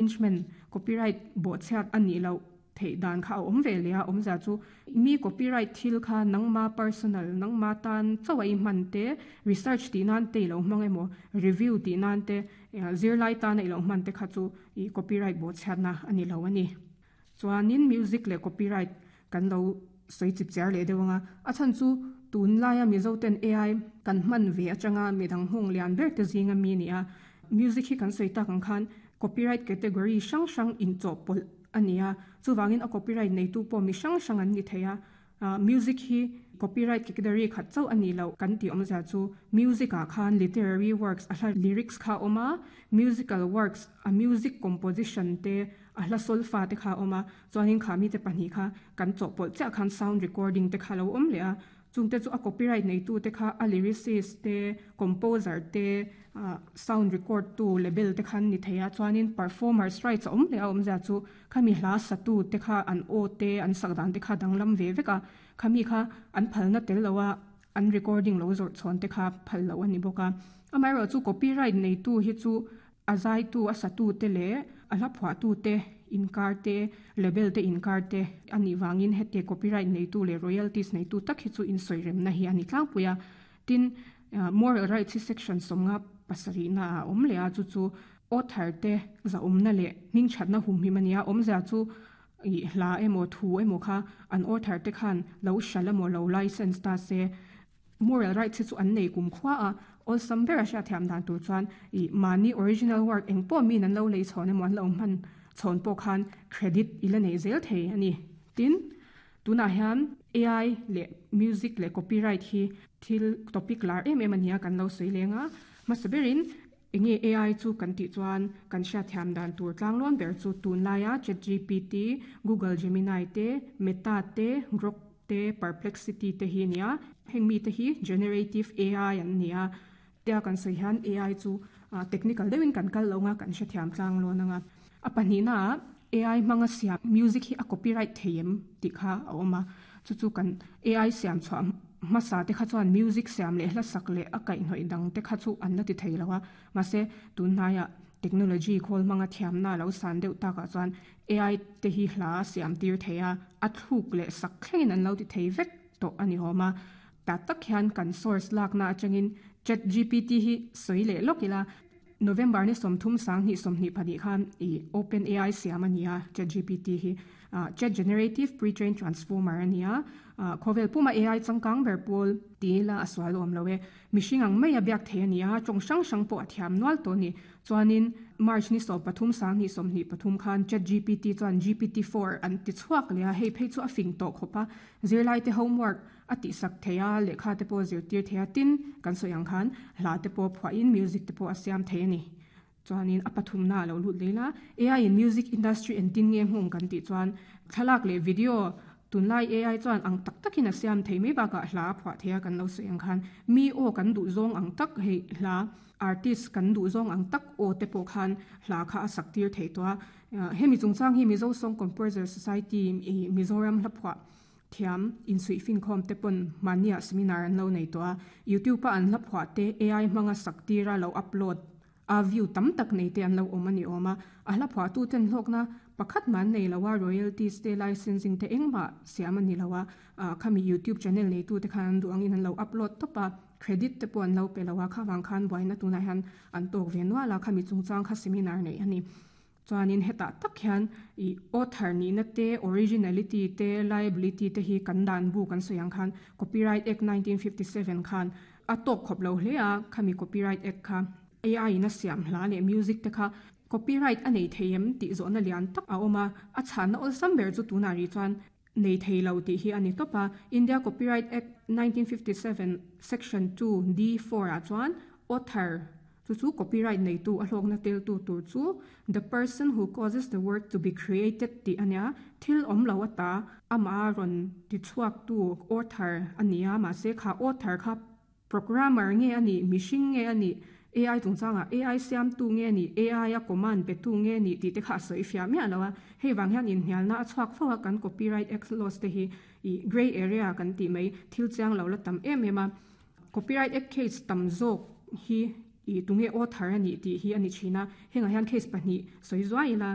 Infringement, copyright bawhchhiat a nih loh theih dan kha a awm ve leh a, awmzia chu mi copyright thil kha nangma personal, nangma tan chauh a i hman te, research tih nan te i lo hmang emaw, review tih nan te, zirlai tana i lo hman te kha chu i copyright bawhchhiatna a ni lo a ni. Chuanin music leh copyright kan lo sawi chip chiar leh deuh ang a, a chhan chu tunlaia Mizo ten AI kan hman ve atanga midang nghawng lian ber te zinga mi a ni a, music hi kan sawi tak ang khan copyright category hrang hrang inchawhpawlh a ni a, chuvangin a copyright neitu pawh mi hrang hrang an ni thei a. Music hi copyright category khat chauh a nih loh kan tih awmzia chu music ah khan literary works a hla lyrics kha a awm a, musical works a music composition te a hla solfa te kha a awm a, chuanin kha mite pahnih kha kan chawhpawlh chiah khan sound recording te kha a lo awm leh a, Chungte chu a copyright neitute kha a lyricist te, composer te, sound record tu label te kha an ni thei a, chuanin performers rights a awm leh a awmzia chu khami hla satu te kha an aw te an sak dan te kha danglam ve vek a, khami kha an phalna tel lo a an recording lo zawrh chhawn te kha phal loh a ni bawk a. Amaherawhchu copyright neitu hi chu A zaitu, a satute leh a hla phuahtute inkar te, label te inkar te a nih vangin heti copyright neitu leh royalties neitu tak hi chu insawi remna hi a ni tlangpui a. Tin, moral rights hi section 57 na ah a awm leh a, chu chu author te zahawmna leh hmingthatna humhim a ni a, awmzia chu ih hla emaw thu emaw kha an author te khan lo hralh emaw lo license ta se, Moral rights hi chu an nei kum khua a, awlsam ber a hriatthiam dan tur chuan ih mahni original work eng pawh miin an lo lei chhawn emaw an lo hman chhawn pawh khan credit i la nei zel thei a ni. Tin, tunah hian AI leh music leh copyright hi thil topic lar em em a nia kan lo sawi leng a, hmasa berin Enge AI chu kan tih chuan kan hriatthiam dan tur tlanglawn ber chu tunlaia ChatGPT, Google Gemini te, Meta te, Grok te, Perplexity te hi a ni a. Heng mite hi Generative AI an ni a. Tia kan sawi hian AI chu technical deuhin kan kal lo anga kan hrethiam tlanglawn anga. A pahnihnaah AI hmanga siam music hi a copyright thei em tih kha a awm a, chu chu kan AI siam chhuah hmasa te kha chuan music siam leh hla sak leh a kaihhnawih dang te kha chu an la ti thei lo a, mahse tunhnaiah technology khawl hmanga thiamna a lo san deuh takah chuan AI te hi hla a siam tir thei a, a thluk leh sak thlengin an lo ti thei vek tawh a ni awm a, tah tak hian kan source lakna atangin ChatGPT hi sawi leh lawk ila. November ni 30 2024 khan ih Open AI siam a ni a, ChatGPT hi Chat Generative Pre-trained Transformer a ni a, khawvel puma AI changkang ber pawl ti ila a sual awm lo e. Mihring ang mai a biak thei a ni a, tawng hrang hrang pawh a thiam nual tawh a ni. Chuanin March ni 13 2023 khan ChatGPT chuan GPT-4 an ti chhuak leh a, hei phei chu a fing tawh khawp a, zirlaite homework A tihsak thei a, lehkha te pawh a zirtir thei a, tin, kan sawi ang khan hla te pawh a phuahin music te pawh a siam thei a ni. Chuanin a pathumna a lo lut leh ila, AI in music industry engtin nge nghawng kan tih chuan thlalak leh video tunlai AI chuan ang tak takin a siam thei mai bakah hla a phuah thei a kan lo sawi ang khan mi aw kan duh zawng ang tak hei hla artist kan duh zawng ang tak aw te pawh khan hla kha a sak tir thei tawh a. Hemi chungchang hi Mizo Song Composer Society Mizoram hla phuah Thiam insuih finkhawm te pawn mahniah seminar an lo nei tawh a, YouTube a an hla phuah te AI hmanga sak tira lo upload a view tam tak nei te an lo awm a ni awm a, a hla phuah tu ten hlawkna pakhat mah an nei lo a, royalties te licensing te engmah siam a ni lo a, khami YouTube channel nei tu te khan an duh angin an lo upload tawp a, credit te pawh an lo pe lo a, kha vang khan buaina tunah hian an tawk ve nual a, khami chungchang kha seminar neih a ni. Chuanin hetah tak hian ih author nihna te, originality te, liability te hi kan dan bu kan sawi ang khan Copyright Act 1957 khan a tawk khawp lo hle a, khami Copyright Act kha AI in a siam hla leh music te kha copyright a nei thei em tih zawhna lian tak a awm a, a chhanna awlsam ber chu tunah rih chuan nei thei lo tih hi a ni tawp a. India Copyright Act 1957 Section 2 D 4 ah chuan author Chu chu copyright neitu a hlawkna teltu tur chu the person who causes the work to be created tih a nia, thil awm lo ata amah a rawn ti chhuaktu author a ni a, mahse kha author kha programmer nge a nih, mihring nge a nih, AI chungchangah AI siamtu nge a nih, AI a command petu nge a nih tih te kha a sawi fiah miah lo a, hei vang hian inhnialna a chhuak fo a, kan copyright act laws te hi ih grey area kan tih mai thil chiang lo la tam em em a, copyright act case tam zawk hi. I tunge author ani tih hi ani thina hengah hian case pahnih sawi zuai ila.